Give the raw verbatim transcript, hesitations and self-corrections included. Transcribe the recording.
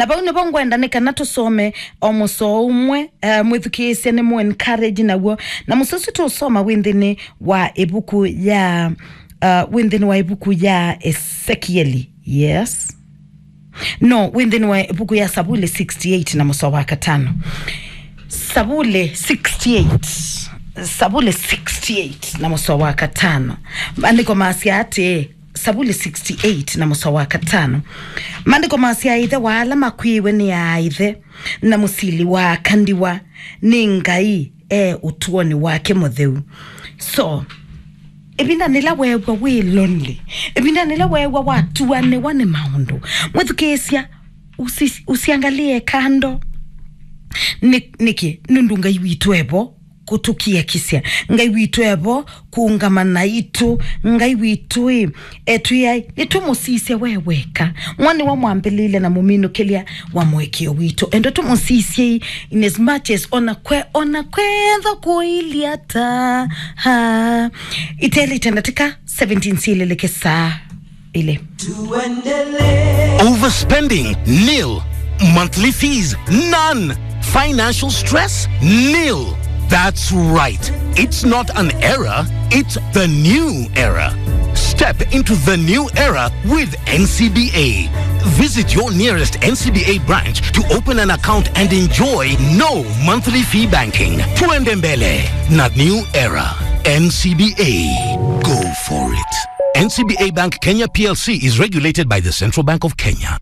Vau nĩvo ngwenda nĩ kana tũsome o mũsoa ũmwe, uh, mwĩthukĩĩsye nĩ mũ encourage naw'o. Na mũsoa ũsu tũũsoma wĩ nthĩnĩ wa ĩvuku ya, uh, wĩ nthĩnĩ wa ĩvuku ya Esekieli. Yes. No, wĩ nthĩnĩ wa ĩvuku ya Savuli sixty-eight na mũsoa wa katano. Savuli sixty-eight. Savuli sixty-eight na mũsoa wa katano. Maandĩko masya atĩĩ, Savuli sixty-eight na mũsoa wa katano. Maandĩko masya, ĩthe wa ala makw'ĩĩwe nĩ aaĩthe, na mũsili wa aka ndiwa nĩ Ngai e ũtũonĩ wake mũtheu. So, ĩvinda nĩla weew'a wĩ lonely, ĩvinda nĩla weew'a watuanĩwa nĩ maũndũ, mwĩthukĩĩsya, usi-, usiangalie kando. Nĩ-, nĩkĩ? Nũndũ Ngai witũ e vo kũtũkiakisya. Ngai witũ e vo kũũngama naitũ. Ngai witũ ĩ, etwĩai, nĩtũmũsisye we weka. Mwa nĩwe mwambĩlĩlya na mũminũkĩlya wa mũĩkĩĩo witũ. Enda tũmũsisyei in as much as ona kwe-, ona kwethwa kũilyĩ ata. Ha. Itelĩte ndatĩka seventeen syĩlĩlĩke saa ilĩ. Overspending? Nil. Monthly fees? None. Financial stress? Nil. That's right. It's not an era, it's the new era. Step into the new era with N C B A. Visit your nearest N C B A branch to open an account and enjoy no monthly fee banking. Tuende mbele na new era. N C B A. Go for it. N C B A Bank Kenya P L C is regulated by the Central Bank of Kenya.